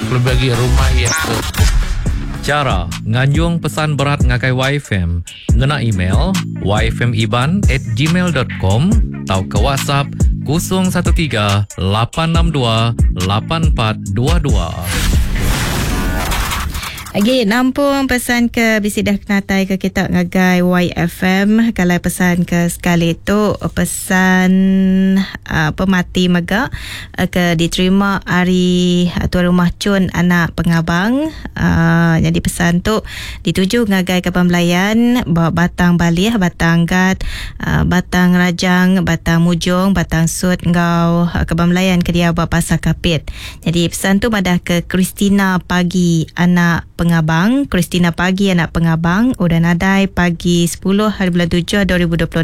Kelebih agi rumah iya ke. Chara nganjung pesan berat ngagai YFM ngena email yfmiban at gmail dot com tauka WhatsApp 013 862 8422. Agi nampung pesan ke bisi dah kenatai ke kita ngagai YFM kalau pesan ke sekali tu pesan uh, pemati mega uh, ke diterima ari uh, tuan rumah Chun anak pengabang uh, jadi pesan tu dituju ngagai kaban belayan ba Batang Balih, Batang Gat, uh, Batang Rajang, Batang Mujong, Batang Sut enggau uh, kaban belayan ke diau ba Pasar Kapit. Jadi pesan tu madah ke Christina Pagi anak Pengabang, Christina Pagi anak Pengabang udah nadai pagi 10 hari bulan 7 2026.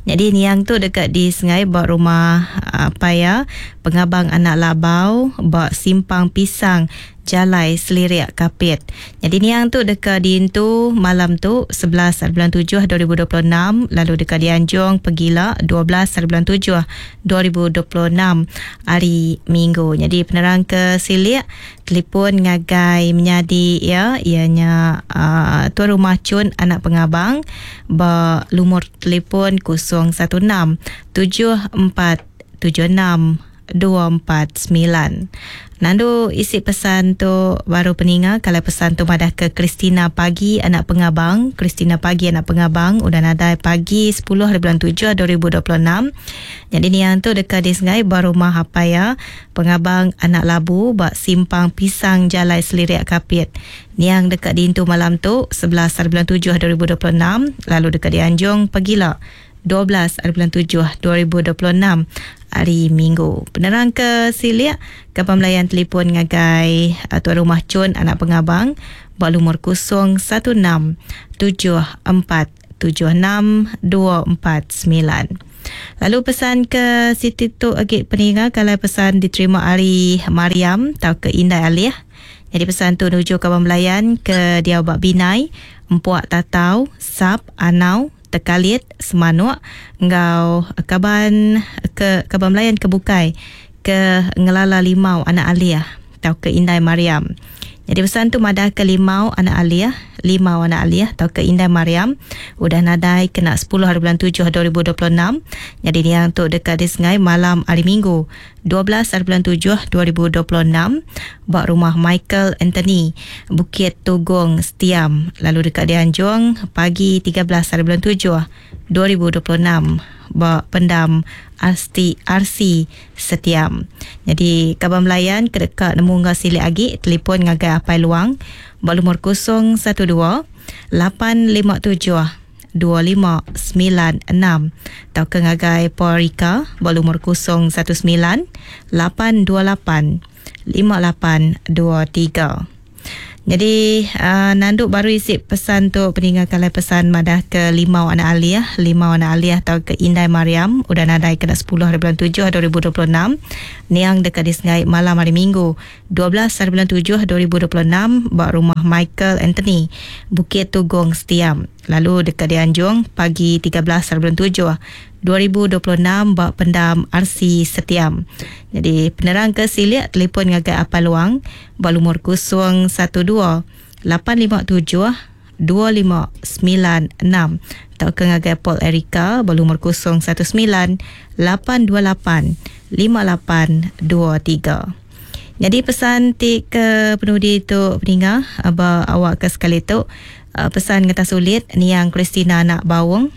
Jadi niang tu dekat di Sengai ba rumah apai iya Pengabang anak Labau ba Simpang Pisang Jalai Selirik Kapit. Nyadi niang tu deka diintu malam tu 11 hari bulan 7 2026 lalu deka dianjung pegila 12 hari bulan 7 2026 hari Minggu. Nyadi penerang ke silik telefon ngagai menyadi iya iya nya uh, Tuan Rumah Chun anak Pengabang ba lumur telefon 016 74 76 249. Nandu isi pesan tu baru peninga kalau pesan tu madah ke Christina Pagi anak Pengabang. Christina Pagi anak Pengabang udah nadai pagi 10 hari bulan 7 2026. Jadi niang tu dekat di Sengai ba rumah apai ya Pengabang anak Labu ba Simpang Pisang Jalai Selirik Kapit. Niang dekat diintu malam tu 11 hari bulan 7 2026 lalu dekat dianjung pegila 12 hari bulan 7 2026 hari Minggu. Penerang ke silik ke pemelayan telefon ngagai tuan rumah Chun anak pengabang ba lumur 016 74 76 249. Lalu pesan ke siti tu agi peninga kalau pesan diterima ari Mariam atau ke Indai Alih. Jadi pesan tu nuju kaban belayan ke dia ba Binai, Empuak Tatau, Sap, Anau, Tekalit, Semanuk enggau kaban ke kaban belayan ke bukai ke ngelala Limau anak Alih tauka ke Indai Mariam. Jadi pesan tu madah ke Limau anak Alih, Limau anak Alih tauka ke Indai Mariam udah nadai kena 10 hari bulan 7 2026. Jadi niang tu dekat di Sengai malam hari Minggu 12 hari bulan 7 2026 ba rumah Michael Anthony, Bukit Tugong, Setiam. Lalu dekat dianjung pagi 13 hari bulan 7 2026 ba pendam RC, RC Setiam. Jadi kaban belayan ke dekat nemu ngah silik agi telefon ngagai Apai Luang ba lumur 012 857 2596 tauka ngagai Paul Rika ba lumur 019 828 5823. Jadi uh, nanduk baru isi pesan tu peninga kalai pesan madah ke Limau anak Aliyah, Limau anak Aliyah atau ke Indai Mariam udah nadai kena 10 hari bulan 7 2026. Niang dekat di Sengai malam hari Minggu 12 hari bulan 7 2026 ba rumah Michael Anthony, Bukit Tugong Setiam. Lalu dekat dianjung pagi 13 hari bulan 7 2026 ba pendam RC Setiam. Jadi penerang ke silik telefon ngagai Apai Luang ba lumur 012 857 2596 atau ke ngagai Paul Erika ba lumur 019 828 5823. Jadi pesan ti ke penudi tu peninga ba awak ke sekali tu pesan ngeta sulit niang Christina anak Bawong.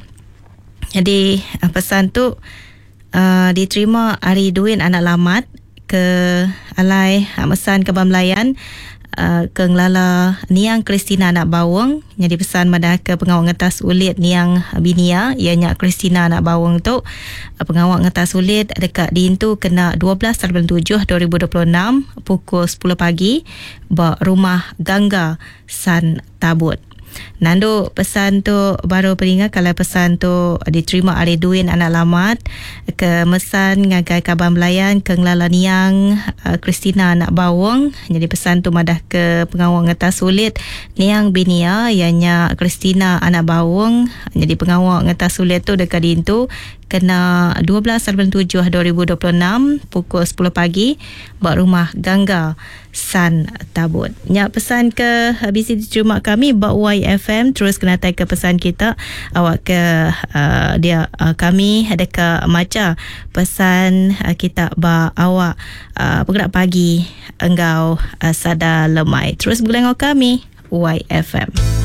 Jadi pesan tu uh, diterima ari Duin anak Lamat ke alai mesan ke Bamlayan uh, ke ngelala niang Christina anak Bawong. Jadi pesan madah ke pengawak ngetas ulit niang binia ianya Christina anak Bawong tu pengawak ngetas ulit dekat diintu kena 12 hari bulan 7 2026 pukul 10 pagi ba rumah Gangga San Tabut. Nandu pesan tu baru peninga kalau pesan tu diterima ari Duin anak Lamat ke mesan ngagai kaban belayan ke ngelala niang Christina anak Bawong. Jadi pesan tu madah ke pengawak ngetas sulit niang binia ianya Christina anak Bawong. Jadi pengawak ngetas sulit tu dekat diintu kena 12 bulan 7 2026 pukul 10 pagi ba rumah Gangga San Tabut. Nya pesan ke bisi diterima kami ba YFM, terus kena ke pesan kita awak ke dia kami ada ke maca pesan kita ba awak bergerak pagi enggau sada lemai. Terus begulai kami YFM.